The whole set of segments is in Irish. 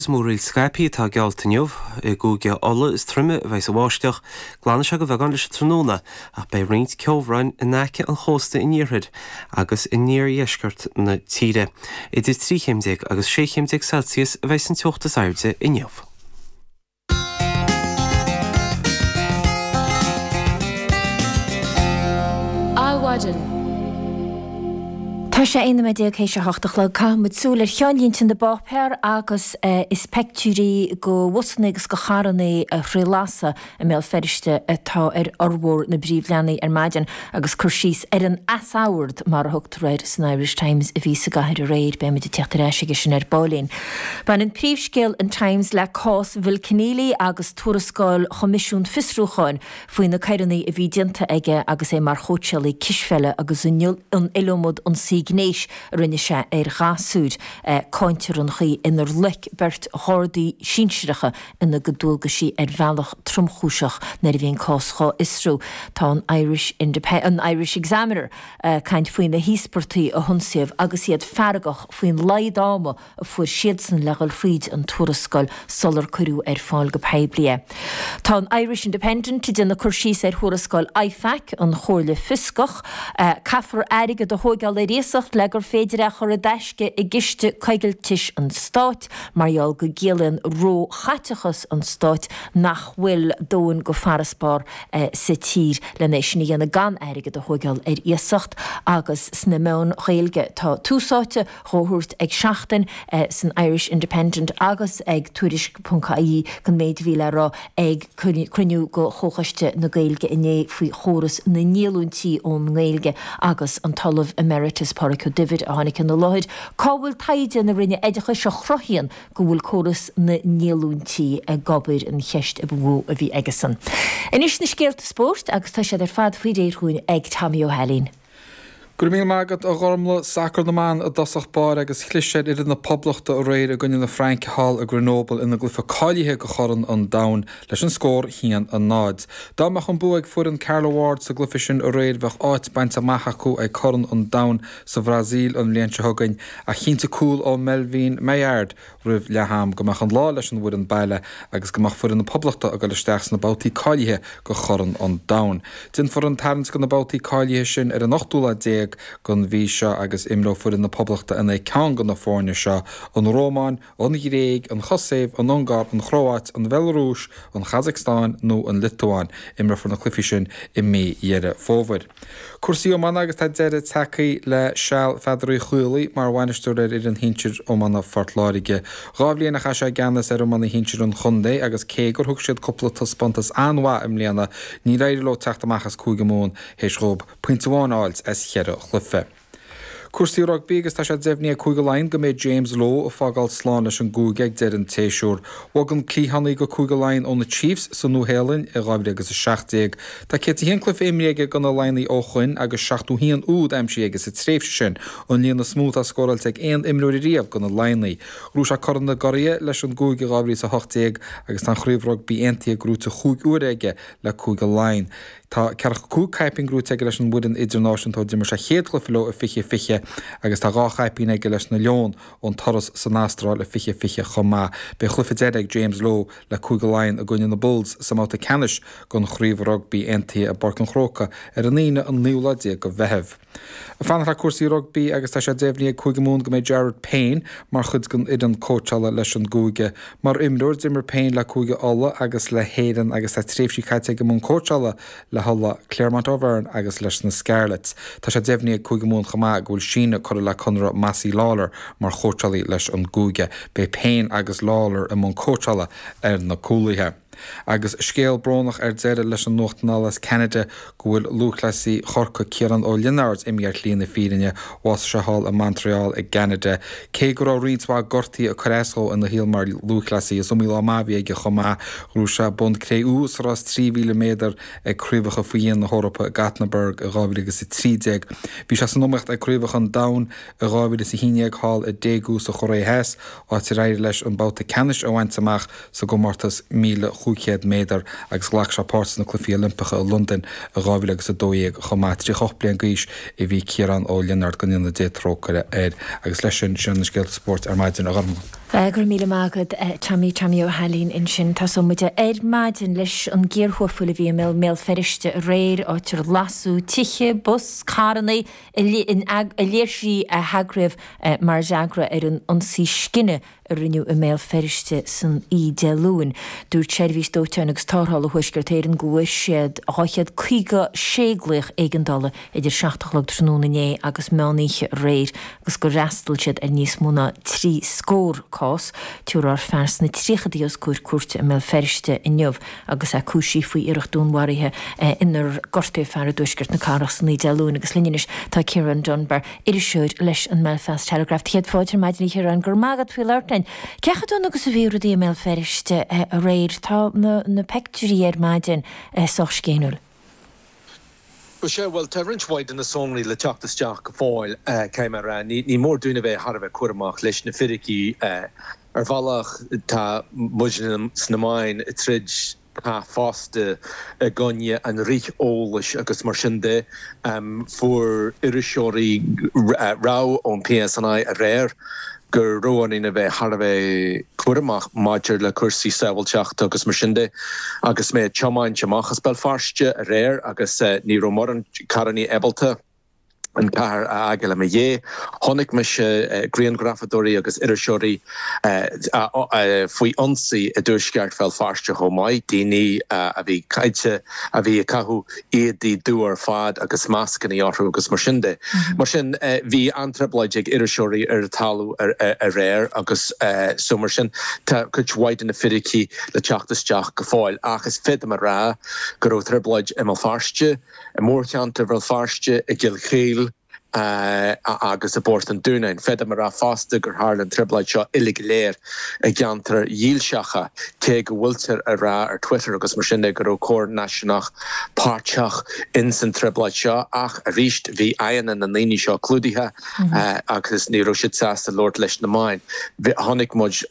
Is múraíl scaipthe atá geallta inniu. I gCúige Uladh is troime a bheidh an bháisteach. Glanfaidh sé de bheagán leis an tráthnóna ach beidh roinnt ceobhráin in aice an chósta in iarthar agus in iardheisceart na tíre. Idir 13 chéim agus 16 chéim Celsius a bheidh an teocht is airde inniu. Adhmhaidin. Tá sé 11 nóiméad théis a hocht a chlog. Caithfidh muid súil ar cheannlínte na bpáipéar agus is peictiúirí go bhusanna agus go charranna a throid lasadh i mBéal Feirste atá ar fhormhór na bpríomhleathanaigh ar maidin agus cur síos ar an easord, mar a thugtar air san Irish Times, a bhí sa gcathair aréir. Beidh muid ag teacht ar ais aige sin ar baillín. Baineann príomhscéal an Times le cás Bhill Kenneally agus tuarascáil Choimisiún Fiosrúcháin faoi na coireanna a bhí déanta aige agus é mar chóitseálaí cispheile agus an iliomad ionsaí gnéis a rinne sé ar ghasúir. Cáintear an chaoi inar loic beirt ghardaí sinsearacha ina gcuid dualgaisí ar bhealach tromchúiseach nuair a bhí an cás dhá fhiosrú. Tá an Irish an Irish Examiner ag caint faoi na híospartaigh a hionsaíodh agus iad feargach faoin laghad ama a fuair siadsan le dhul thríd an tuarascáil sular cuireadh ar fáil go poiblí é. Tá an Irish Independent ag déanamh cur síos ar thuarascáil IFAC, an Chomhairle Fioscach. Caithfear airgead a thóigeáil ar iasacht le gur féidir é a chur i dtaisce i gciste coigiltis an stáit mar gheall go gciallaíonn ró-chaiteachas an stáit nach bhfuil dóthain go farasbarr sa tír len é sin a dhéanamh gan airgead a thóigeáil ar iasacht agus sna meáin Ghaeilge tá tús áite dhá thabhairt ag Seachtain san Irish Independent agus ag Tuairisc ponc ie don méid a bhí le rá ag cruinniú go Chomhchoiste na Gaeilge inné faoi chóras na ndíolúintí ón nGaeilge agus an tOllamh Emeritus Pádraig Ó Duibhir a tháinig ina láthair. Cá bhfuil taighde na Roinne Oideachais a chruthaíonn go bhfuil córas na ndíolúintí ag obair an cheist a ba mhó a bhí aigesan. Anois na scéalta spóirt agus tá siad ar fad faoi réir dhúinn ag Tommy Ó hAilín. Go raibh míle maith agat, a Ghormlaith. Sacar na mban i dtosach báire agus chlis ar fhoireann na Poblachta aréir i gcoinne na Fraince thall i Grenoble ina gcluiche cáilithe do Chorn an Domhain leis an scór 1-0. Dá mbeadh an bua ag foireann Carla Ward sa gcluiche sin aréir bheadh áit bainte amach acu ag Corn an Domhain sa Bhrasaíl an bhliain seo chugainn ach chinntigh cúl ó Melvine Maillard roimh leath am go mbeadh an lá leis an bhfoireann baile agus go mbeadh foireann na Poblachta ag dul isteach sna babhtaí cáilithe go Chorn an Domhain. Déanfar an tarraingt do na babhtaí cáilithe sin ar an ochtú lá déag den mhí seo agus imreoidh foireann na Poblachta in aghaidh ceann de na foirne seo, an Rómáin, an Ghréig, an Chosaiv, an Ungáir, an Chróáit, an Bhealarúis, an Chasacstáin nó an Liotuáin. Imreofar na cluichí sin i mí Dheireadh Fómhair. Cúrsaí iomána agus tá deireadh tagtha le seal Pheadair Uí Chaollaí mar bhainisteoir ar fhoireann shinsir iomána Phort Láirge. 2 bhliain a chaith sé i gceannas ar iomána shinsir an chontae agus cé gur thug siad cúpla taispeántas an-mhaith i mbliana, níor éirigh leo teacht amach as Cúige Mumhan théis dhóibh pointe amháin a fháilt as cheithre chluiche. Cúrsaí rugbaí agus tá sé deimhnithe ag Cúige Laighean go mbeidh James Lowe ag fágáil slán leis an gcúige ag deireadh an tséasúir. Bhog an cliathánaí go Cúige Laighean ó na Chiefs sa Nua-Shéalainn i 2017. Tá 101 cluiche imrithe aige do na Laighnigh ó shoin agus 71 úd aimsithe aige sa tréimhse sin, an líon is mó atá scóráilte ag aon imreoir ariamh do na Laighnigh. Ghnóthaigh sé Corn na gCuradh leis an gcúige i 2018 agus tá an Chraobh Rugbaí Aontaithe gnóite chúig huaire aige le Cúige Laighean. Tá 45 caipín gnóite aige leis an bhfoireann idirnáisiúnta ó d'imir sé a chéad chluiche leo i 2020 agus tá 2 chaipín aige leis na Leoin ón turas san Astráil i 2020 chomh maith. Beidh a chluiche deiridh ag James Lowe le Cúige Laighean i gcoinne na Bulls sa mbabhta ceannais den Chraobh Rugbaí Aontaithe i bPáirc an Chrócaigh ar an Aoine an naoú lá déag de Mheitheamh. Ag fanacht le cúrsaí rugbaí agus tá sé deimhnithe ag Cúige Mumhan go mbeidh Jared Payne mar chuid den fhoireann cóitseála leis an gcúige. Mar imreoir, d'imir Payne le Cúige Uladh agus le hÉirinn agus tá tréimhsí caite aige i mbun cóitseála le hUladh, Clermont Auvergne agus leis na Scarlets. Tá sé deimhnithe ag Cúige Mumhan chomh maith go bhfuil síneadh curtha le conradh Mossy Lawlor mar chóitseálaí leis an gcúige. Beidh Payne agus Lawlor i mbun cóitseála ar na cúlaithe. Agus scéal brónach ar deireadh leis an nuacht anall as Ceanada go bhfuil lúthchleasaí Chorcaí Ciarán Ó Lionáird imithe ar shlí na fírinne. Bhásaigh sé thall i Montreal i gCeanada. Cé go raibh roinnt mhaith gortuithe ag cur as dhó ina shaol mar lúthchleasaí, is iomaí lá maith a bhí aige chomh maith. Ghnóthaigh sé bonn cré-umha sa rás 3,000 méadar ag Craobhacha Faoi Dhíon na hEorpa i Gothenburg i 2013. Bhí sé san iomaíocht ag Craobhacha an Domhain i 2011 thall i Daegu sa Chóiré Theas, áit ar éirigh leis an babhta ceannais a bhaint amach sa gcomórtas 1,500 méadar agus ghlac sé páirt sna Cluichí Oilimpeacha i Londain i 2012 chomh maith. 38 bliain d'aois a bhí Ciarán Ó Lionáird, go ndéana Dia trócaire air. Agus leis sin, sin na scéalta spóirt ar maidin, a Ghormlaith. Go raibh míle maith agat Tommy, Tommy Ó hAilín ansin. Tosóidh muid ar maidin leis an gcíor thuaifil a bhí i mBéal Feirste aréir, áit ar lasadh tithe, bus, carranna i léirsí a heagraíodh mar fhreagra ar an ionsaí scine a rinneadh i mBéal Feirste san oíche Dé Luain. Dúirt Seirbhís Dóiteáin agus Tarrthála Thuaisceart Éireann go bhfuair siad 256 glaoch éigeandála idir 7 a chlog tráthnóna inné agus meán oíche aréir agus gur fhreastail siad ar níos mó ná 3 scór cás. Tabharfar fear sna tríochadaí os comhair cúirte i mBéal Feirste inniu agus é cúisithe faoi iarracht dúnmharaithe inar gortaíodh fear i dtuaisceart na cathrach san oíche Dé Luain agus linn anois tá Ciarán Dunbar. Iriseoir leis an mBelfast Telegraph. Céad fáilte ar maidin a Chiaráin. Go raibh maith agat faoi labhairt linn. Cé chomh dona agus a bhí rudaí i mBéal Feirste aréir? Tá na peictiúirí ar maidin sách scéiniúil. Bhuel, sea, bhuel, tá roinnt mhaith de na sonraí le teacht isteach go fóill, caithfidh mé a rá. Ní mór dúinn a bheith thar a bheith cúramach leis na fíricí. Ar bhealach, tá muidne sna meáin ag troid cath fosta i gcoinne an rith eolais agus mar sin de. Fuair iriseoirí rabhadh ón PSNI aréir go raibh orainn a bheith thar a bheith cúramach maidir le cúrsaí sábháilteachta agus mar sin de. Agus mé ag tiomáint amach as Béal Feirste aréir agus ní raibh mórán carrannaí ábalta an chathair a fhágáil i mo dhiaidh. Chonaic mise grianghrafadóirí agus iriseoirí faoi ionsaí i dtuaisceart Bhéal Feirste chomh maith, daoine a bhí caite, a bhí ag caitheamh éadaí dubha ar fad agus mascannaí orthu agus mar sin de. Mar sin, bhí an-trioblóid ag iriseoirí ar an talamh aréir agus so mar sin tá cuid mhaith de na fíricí le teacht isteach go fóill. Ach is féidir liom a rá go raibh trioblóid i mBéal Feirste, I mórcheantar Bhéal Feirste, i gCill Chaoil agus i bPort an Dúnáin. Féadaim a rá fosta gur tharla an trioblóid seo uilig go léir i gceantair dhílseacha, cé go bhfuiltear a rá ar Twitter agus mar sin de go raibh Comhar Náisiúnach páirteach ins an trioblóid seo ach arís bhí aghaidheanna na ndaoine seo clúdaithe agus ní raibh siad sásta labhairt leis na meáin. Chonaic muid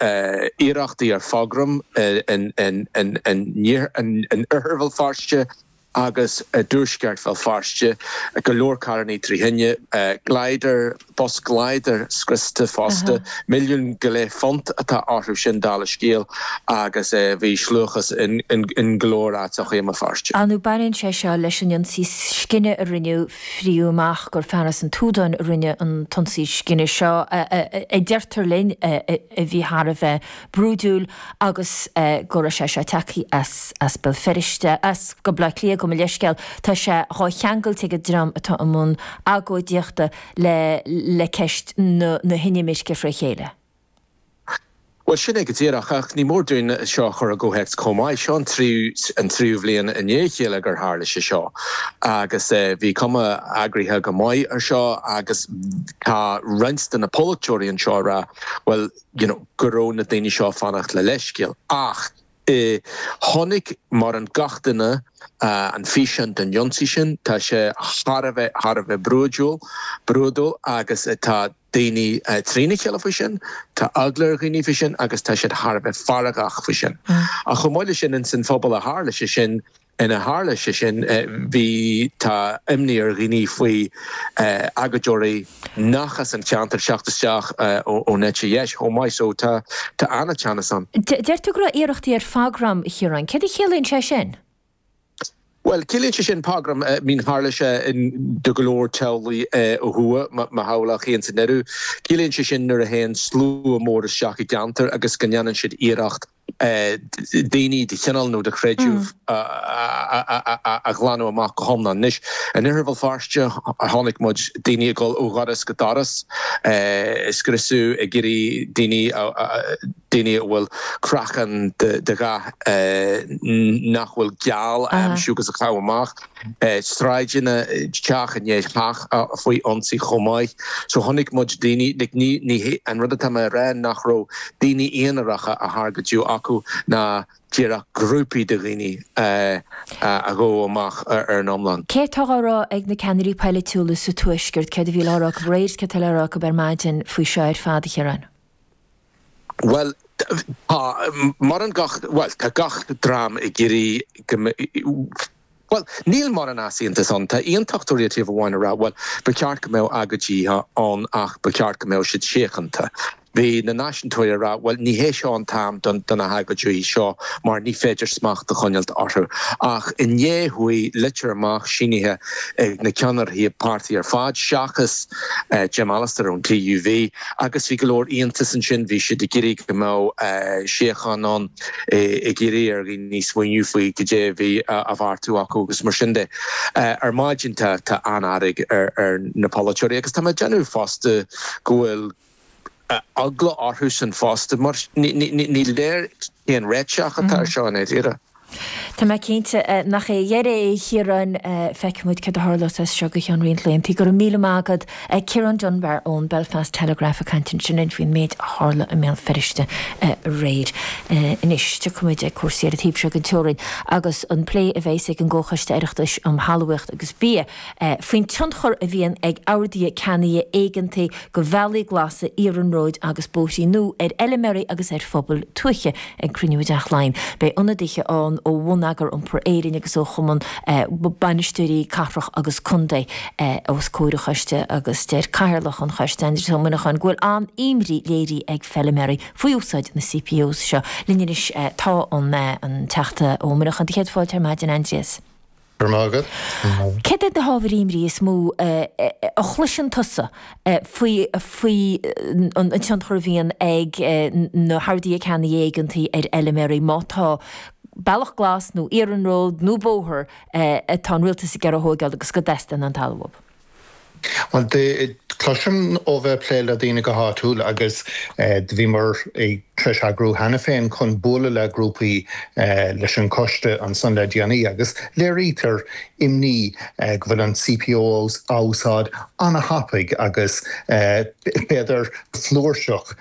iarrachtaí ar phograim in oirthear Bhéal Feirste, agus i dtuaisceart Bhéal Feirste, go leor carrannaí trí thine, glider, bus glider scriosta fosta, milliún go leith punt atá orthu sin dála scéil agus bhí sluachas in go leor áiteacha i mBéal Feirste. Ar ndóigh baineann sé seo leis an ionsaí scine a rinneadh, fríodh amach gur fear as an tSúdáin a rinne an t-ionsaí scine seo, a deirtear linn, a bhí thar a bheith brúidiúil agus go raibh sé seo tagtha as as Béal Feirste, as go Baile Átha Cliath, gabh mo leithscéal. Tá sé dhá cheangailt ag an dream atá i mbun agóidíochta le le ceist na na hinimirce fré chéile. Bhuel, sin é go díreach, ach ní mór dúinn seo a chur i gcomhthéacs chomh maith. Seo an tríú an tríú bhliain i ndiaidh a chéile gur tharla sé seo agus bhí cuma eagraithe go maith ar seo agus tá roinnt de na polaiteoirí anseo ag rá, bhuel, you know, go raibh na daoine seo ag fanacht le leithscéal. Ach eh chonaic mórán gach duine an físeán den ionsaí sin, tá sé thar a bheith, thar a bheith brúidiúil, brúidiúil agus tá daoine trína chéile faoi sin, tá eagla ar dhaoine faoi sin agus tá siad thar a bheith feargach faoi sin. Ach chomh maith leis sin, ins an phobal a tharla sé sin, ina tharla sé sin, bhí, tá imní ar dhaoine faoi agóideoirí nach as an cheantar teacht isteach ón eite dheis chomh maith so tá, tá an-teannas ann. Deir tú go raibh iarrachtaí ar phogram, a Chiaráin. Céard a chiallaíonn sé sin? Bhuel, ciallaíonn sé sin pogram, I mean tharla sé in do go leor teaghlaigh ó thuaidh, mo theaghlach féin san áireamh. Ciallaíonn sé sin nuair a théann slua mór isteach i gceantar agus go ndéanann siad iarracht daoine de chineál nó de chreideamh a ghlanadh amach go hiomlán. Anois, in Oirthear Bhéal Feirste, chonaic muid daoine ag dul ó dhoras go doras, ag scriosadh, ag iarraidh daoine, daoine a bhfuil craiceann de dhath nach bhfuil geal a aimsiú agus a chaitheamh amach. Sráideanna, teach i ndiaidh teach faoi ionsaí chomh maith. So chonaic muid daoine, like ní, ní hé, an rud atá mé a rá nach raibh daoine aonaracha á thargaidiú acu ná díreach grúpaí de dhaoine a ghabh amach ar an iomlán. Céard atá á rá ag na ceannairí poilitiúla sa Tuaisceart, céard a bhí le rá acu aréir, céard atá le rá acu ar maidin faoi seo ar fad, a Chiaráin? Bhuel, tá mórán gach, bhuel, tá gach dream ag iarraidh go mbeadh, bhuel, níl mórán easaontas ann. Tá aontachtóirí ar taobh amháin ag rá, bhuel, ba cheart go mbeadh agóidí ann ach ba cheart go mbeadh siad síochánta. Bhí na náisiúntóirí ag rá, bhuel, ní hé seo an t-am do na hagóidí seo mar ní féidir smacht a choinneáilt orthu. Ach inné chuaigh litir amach sínithe ag na ceannairí páirtí ar fad, seachas Jim Allister ón TUV, agus bhí go leor iontas ansin, bhí siad ag iarraidh go mbeadh síocháin ann, ag iarraidh ar dhaoine smaoineamh faoi cad é a bhí á bheartú acu agus mar sin de. Ar maidin tá an-fhearg ar na polaiteoirí agus tá mé ag déanamh fosta go bhfuil eagla orthusan fosta mar ní léir cén réiteach atá ar seo i ndáiríre. Tá mé cinnte nach é a dheireadh é, a Chiaráin. Feicfidh muid céard a tharlós as seo go ceann roinnt laethanta. Go raibh míle maith agat. Ciarán Dunbar ón Belfast Telegraph ag caint ansin linn faoin méid a tharla i mBéal Feirste aréir. Anois, tiocfaidh muid ag cúrsaí ar an taobh seo den teorainn agus an plé a bheas ag an gComhchoiste Oireachtais um Thalmhaíocht agus Bia faoin tionchar a bhíonn ag orduithe ceannaithe éigeantaigh do bhealaí glasa, iarnróid agus bóithrí nua ar fheilméaraí agus ar phobail tuaithe ag cruinniú i dTeach Laighean. Beidh ionadaithe ann ó Bhonneagar Iompair Éireann agus ó Chumann Bainisteoirí Cathrach agus Contae os comhair an choiste agus deir Cathaoirleach an choiste, Aindrias Ó Muineacháin, go bhfuil an-imní léirithe ag feilméaraí faoi úsáid na CPOs seo. Linn anois tá an Teachta Ó Muineacháin. Do chéad fáilte ar maidin, Aindrias. Go raibh maith agat. Céard iad na hábhair imní is mó a chloiseann tusa faoi faoi an tionchar a bhíonn ag na horduithe ceannaigh éigeantaigh ar fheilméaraí má tá bealach glas nó iarnród nó bóthar atá an rialtas ag iarraidh a thóigeáil agus go dteastaíonn an talamh uathu? Bhuel, cloisim ó bheith ag plé le daoine go háitiúil agus do bhíomar ag tar éis eagrú cheana féin chun bualadh le grúpaí leis an choiste ansan le déanaí agus léirítear imní go bhfuil an CPO á úsáid ana-thapaidh agus b'fhéidir flúirseach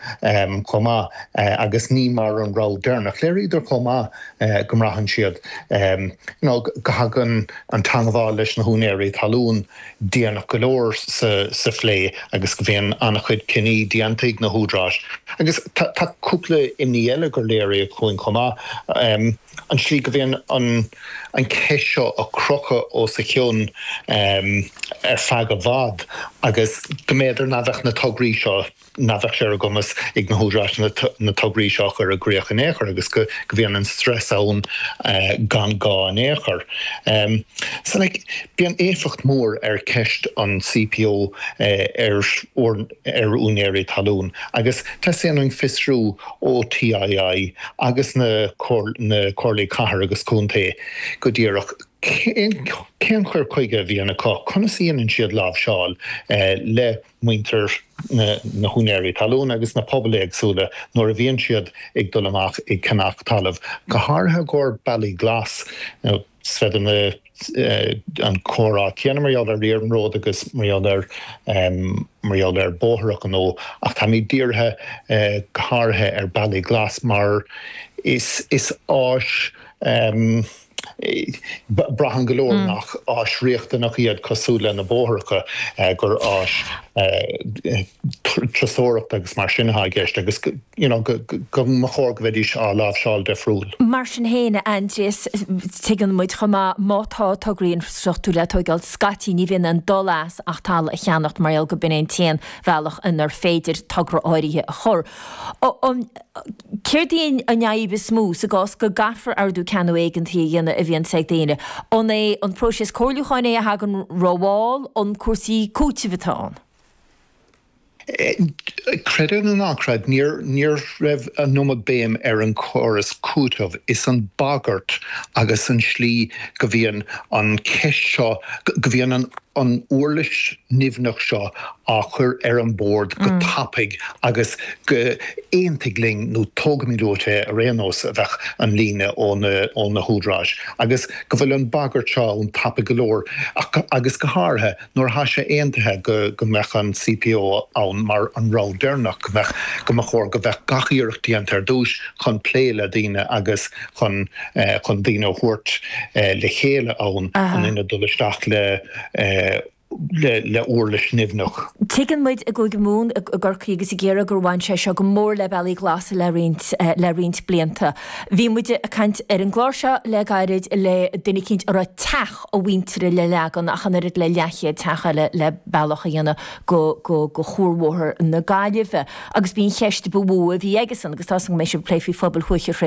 chomh maith agus ní mar an rogha deireanach. Léiríodar chomh maith go mbraitheann siad you know go dtagann an teangmháil leis na húinéirí talún déanach go leor sa phlé agus go mbíonn an-chuid cinní déanta ag na húdaráis. Agus tá cúpla imní eile gur léiríodh chugainn chomh maith, an tslí go mbíonn an cheist seo á crochadh os a chionn ar feadh i bhfad agus go mb'fhéidir nach bheadh na tograí seo nach bheadh sé ar a gcumas ag na húdaráis na tograí seo a chur i gcrích in aon chor agus go mbíonn an stress ann gan gá in aon chor. So like bíonn éifeacht mór ar cheist an CPO ar ar úinéirí talún agus teastaíonn uainn fiosrú ó TII agus na na comhairlí cathair agus contae go díreach cén cén cur chuige a bhíonn acu, conas a dhéanann siad láimhseáil le muintir na húinéirí talún agus na pobail éagsúla nuair a bhíonn siad ag dul amach ag ceannach talamh, go háirithe i gcomhair bealaí glas. Is féidir na an comhrá céanna mar gheall ar iarnród agus mar gheall ar mar gheall ar bóithreacha nó ach táimid dírithe go háirithe ar bealaí glas mar is is áis Braitheann go leor nach áis riachtanach iad cosúil le na bóithreacha, gur áis turasóireachta agus mar sin atá i gceist agus you know go mba chóir go mbeidís á láimhseáil difriúil. Mar sin féin, a Aindrias, tuigeann muid chomh maith má tá tograí infrastruchtúir le tóigeáil scaití ní bhíonn aon dul as ach talamh a cheannacht mar gheall go b'in é an t-aon bhealach inar féidir togra áirithe a chur. Céard í an fhadhb is mó sa gcás go gcaithfear ordú ceannaigh éigeantaigh a dhéanamh a bhíonns ag daoine? An é an próiseas comhairliúcháin é a thagann rómhall, an cúrsaí cúitimh atá ann? Creid é nó ná creid, ní raibh an iomad béim ar an chóras cúitimh. Is an bagairt agus an slí go mbíonn an cheist seo, go mbíonn an. an uirlis nimhneach seo á chur ar an bord go tapaidh agus go aontaigh linn nó tógfaimid uait é ar aon nós a bheadh an líne ó na húdaráis agus go bhfuil an bagairt seo ann tapaidh go leor agus go háirithe nuair atá sé aontaithe go go mbeadh an CPO ann mar an rogha deireanach go mbeadh go mba chóir go mbeadh gach iarracht déanta ar dtús chun plé le daoine agus chun chun daoine a thabhairt le chéile ann in ionad dul isteach le. Le uirlis nimhneach. Tuigeann muid i gCúige Mumhan, i gCorcaigh agus i gCiarraí gur bhain sé seo go mór le bealaí glasa le roinnt le roinnt blianta. Bhí muid ag caint ar an gclár seo le gairid le duine eicínt a raibh teach a mhuintire le leagan ach an oiread le leathchéad teach eile le bealach a dhéanamh go go go Chuarbhóthar na Gaillimhe agus b'í an cheist ba mhó a bhí aigesan agus tá 'fhios agam go mbeidh sibh ag plé faoi phobail thuaithe.